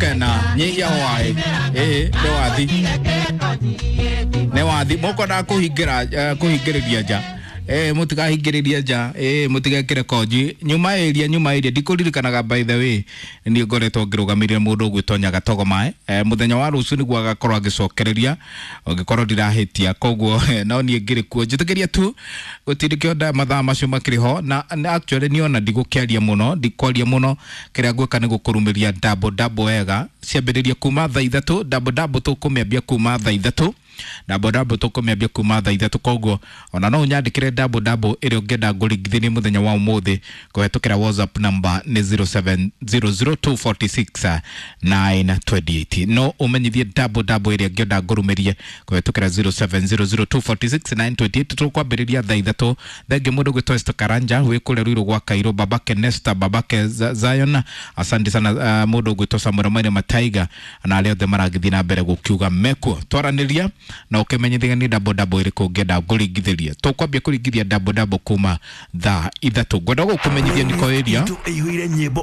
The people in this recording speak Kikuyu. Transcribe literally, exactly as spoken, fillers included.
Kena nyihia hwaĩ ĩĩ nĩ wathi nĩ wathi mũkwendaga kũhingĩra eh, kũhingĩrĩria nja eh mũtikahingĩrĩrie nja eh mũtigekĩre konji nyuma area nyuma area ndikũririkanaga. By the way, niĩ ngoretwo ngĩrũgamĩrĩra mũndũ ũgwĩtwo Nyagatogo Mae eh, mũthenya wa rũciũ nĩguo agakorwo agĩcokereria ũngĩkorwo ndirahĩtia, koguo no niĩ ngĩrĩ kuo njĩtĩkĩria tu gũtirĩ nda mathaa macio makĩrĩ ho na, na actually niĩ ona ndigũkĩaria mũno, ndikwaria mũno. Kĩrĩa ngwĩka nĩ gũkũrumĩria double double wega ciambĩrĩria kuma thaa ithatũ. Double double tũkũmĩambia kuma thaa ithatũ, double double tũkũmĩambia kuma thaa ithatũ. Koguo ona no ũnyandĩkĩre double double ĩrĩa ũngĩenda ngũringithĩrie mũthenya wa ũmũthĩ kũhetũkĩra WhatsApp number nĩ zero seven zero zero two four six nine two eight. No ũmenyithie double double ĩrĩa ũngĩenda ngũrumĩrie kũhetũkĩra zero seven zero zero two four six nine two eight. Tũkwambĩrĩria thaa ithatũ. Thengi mũndũ gwĩtwo Esther Karanja wĩ kũrĩa Ruiru gwa Kairũ, babake Nesta, babake Zion, asante sana. uh, mũndũ gwĩtwo Samuel Maire Mataiga na arĩa othe maragĩthiĩ na mbere gũkiuga mekuo twaranĩria na ũkĩmenyithia nĩ double double ĩrĩkũ ũngĩenda ngũringithĩrie. Tũkwambia kũringithia double double kuma thaa ithatũ. Ngwenda gũkũmenyithia niko area ĩihũire nyĩmbo.